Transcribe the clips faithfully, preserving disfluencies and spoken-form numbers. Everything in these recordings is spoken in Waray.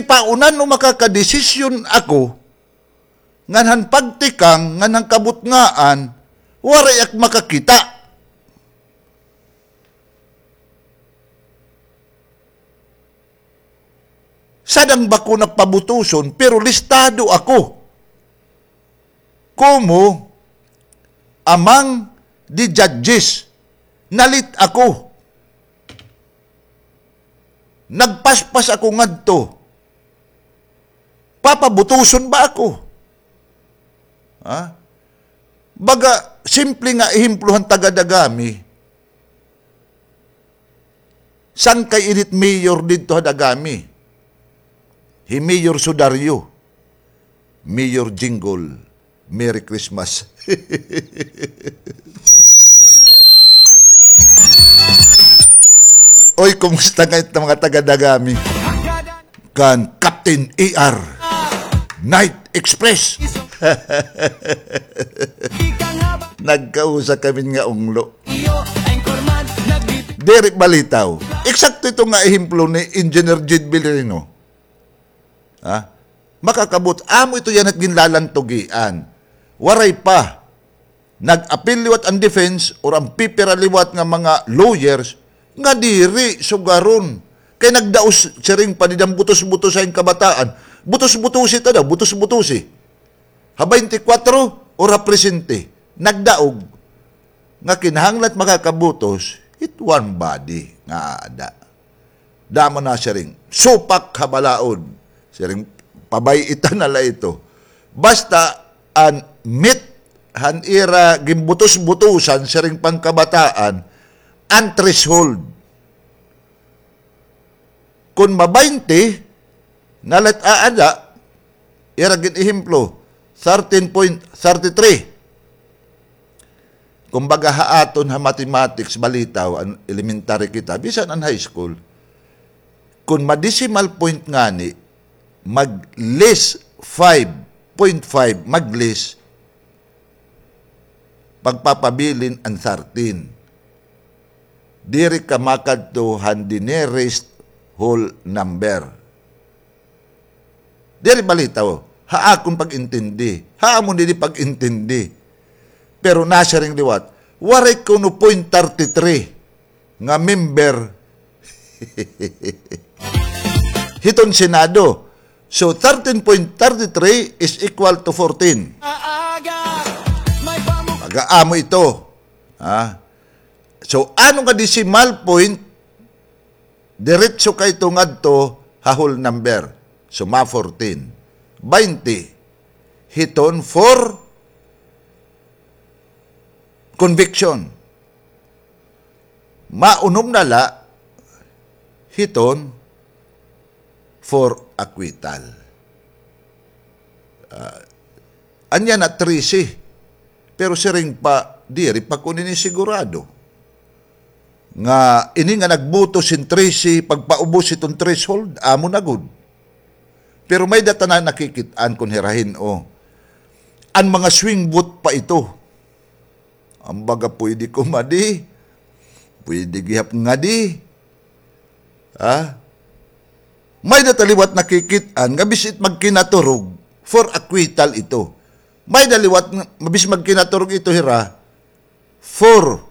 Pauna no makakadesisyon ako, ngan han pagtikang, ngan han kabutngaan, waray ak makakita. Sadang bako na pabutuson, pero listado ako komo among the judges. Na-late ako. Nagpaspas ako ngadto. Papabutuson ba ako? Ha? Baga, simple nga ehemplo han taga-Dagami. Sangkay ini it mayor didto ha Dagami. Hi Mayor Sudario. Mayor Jingle. Merry Christmas. Oy, kumusta ngay-an it mga taga-Dagami? Kan Captain A R Night Express. Nagkausa kami nga unglo. Diri balitaw. Eksakto ito nga ehemplo ni Engineer Jed Villarino. Ha? Makakabot, amo ito yana it ginlalantugian. Waray pa. Nag-apil liwat an defense or an pipira liwat nga mga lawyers nga diri sugaron. Kay nagdaos siring pa dida an butos-butos ha kabataan. Butos-butosi ta daw, butos-butosi. Ha baynte kwatro or ha presente. Nagdaog nga kinahanglan makakabutos, it one body nga aada. Damo na siring, supak ha balaod. Siring, pabay-itan na la ito. Basta an meet han ira ginbutos-butosan, siring pa an kabataan, an threshold. Kon ma-baynte, na la it aada, ira gin-ehemplo, thirteen point thirty three. Kumbaga, ha aton ha mathematics, balitaw, an elementary kita, bisan an high school, kon ma-decimal point ngani, mag-less five point five, mag-less, pagpapabilin an thirteen. Diri ka makadto han the nearest whole number. Diri balitaw, ha akon pag-intindi, ha amon didi pag-intindi. Pero nasiring liwat, waray kuno point thirty three nga member hiton Senado. So, thirteen point thirty three is equal to fourteen. Pag-aamo ito. Ha? So, ano nga decimal point, diretso kay ito ngadto ha whole number. So, ma-fourteen. Baynte. Hiton for conviction. Maunom na la hiton for acquittal. Ah, anya na trese. Pero siring pa, diri pa ko nini sigurado. Nga ini nga nagbutos hin trese, pagpaubos hiton threshold, amo na gud. Pero may-ada ta na nakikit-an kon hira hin-o. An mga swing vote pa ito. An baga pwede kumadi, pwede gihap ngadi. Ha? May-ada ta liwat nakikit-an nga bisan it magkinaturog for acquittal ito. May-ada liwat nga, bisan magkinaturog ito hira for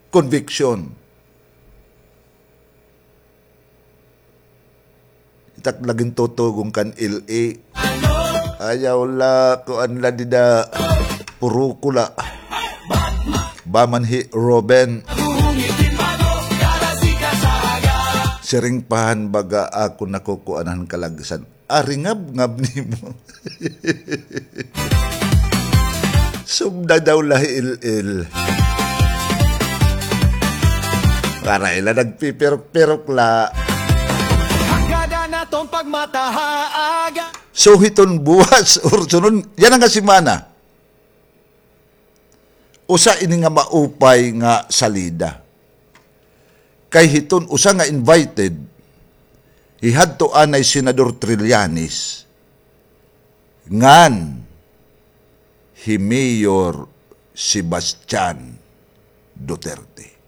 conviction. Itak lagin tutugon kan L A. Ayaw la, kuan la dida. Puro ko la. Ba man hi Ruben. Siring pa han baga ako nakukuan han kalagsan. Ari ngabngab nimo. Sugda daw la hi Il-il. Para ila nagpipirok-pirok la. Hagada naton pagmata ha aga. So, hiton buwas or sunod, yana nga semana. Usa ini nga maupay nga salida. Kay hiton usa nga invited, hihadto anay Senador Trillanes, ngan hi Mayor Sebastian Duterte.